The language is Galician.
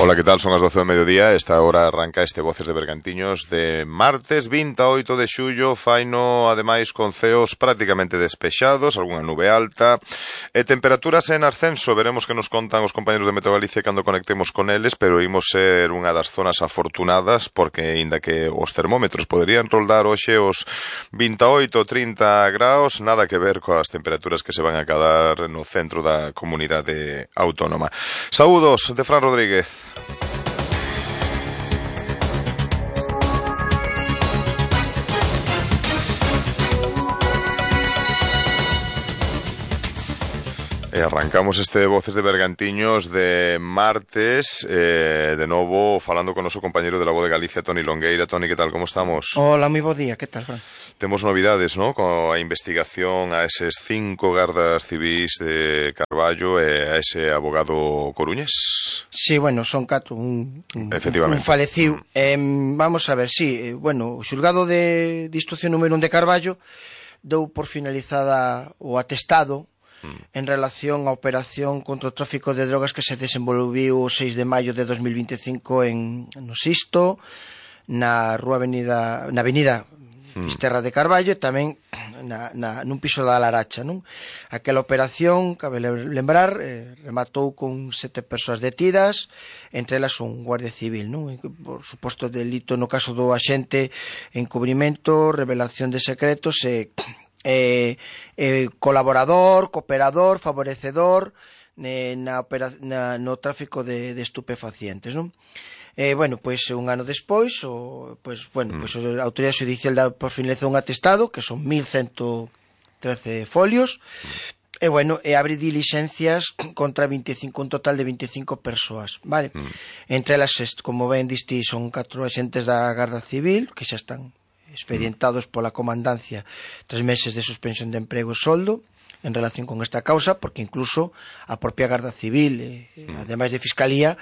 Ola, que tal? Son as 12 do mediodía. Esta hora arranca este Voces de Bergantiños de martes 28 de xullo. Faino, ademais, con ceos prácticamente despexados, algunha nube alta e temperaturas en ascenso. Veremos que nos contan os compañeros de Meteo Galicia cando conectemos con eles, pero imos ser unha das zonas afortunadas porque, aínda que os termómetros poderían roldar hoxe os 28 ou 30 graus, nada que ver coas temperaturas que se van a quedar no centro da comunidade autónoma. Saúdos de Fran Rodríguez. E arrancamos este Voces de Bergantiños de martes, de novo falando con o noso compañeiro de La Voz de Galicia, Toni Longueira. Toni, que tal, como estamos? Hola, moi bo día, que tal, Fran? Temos novidades, ¿no?, coa investigación a eses 5 gardas civís de Carballo e a ese abogado coruñés. Sí, bueno, son 4, un faleciu. Vamos a ver, sí, bueno, o xulgado de instrucción número 1 de Carballo dou por finalizada o atestado en relación á operación contra o tráfico de drogas que se desenvolviu o 6 de maio de 2025 no Sisto, na avenida Fisterra de Carballo e tamén nun piso da Laracha, non? Aquela operación, cabe lembrar, rematou con 7 persoas detidas, entre elas un guardia civil, non? Por suposto delito no caso do axente, encubrimento, revelación de secretos e colaborador, cooperador, favorecedor no tráfico de estupefacientes, non? Bueno, pois un ano despois a autoridade judicial dá por finalizado un atestado que son 1113 folios e bueno, abre dilixencias contra un total de 25 persoas, vale? Entre elas, como ben diste, son 4 axentes da Garda Civil que xa están expedientados pola comandancia 3 meses de suspensión de emprego e soldo en relación con esta causa, porque incluso a propia Garda Civil, ademais de Fiscalía,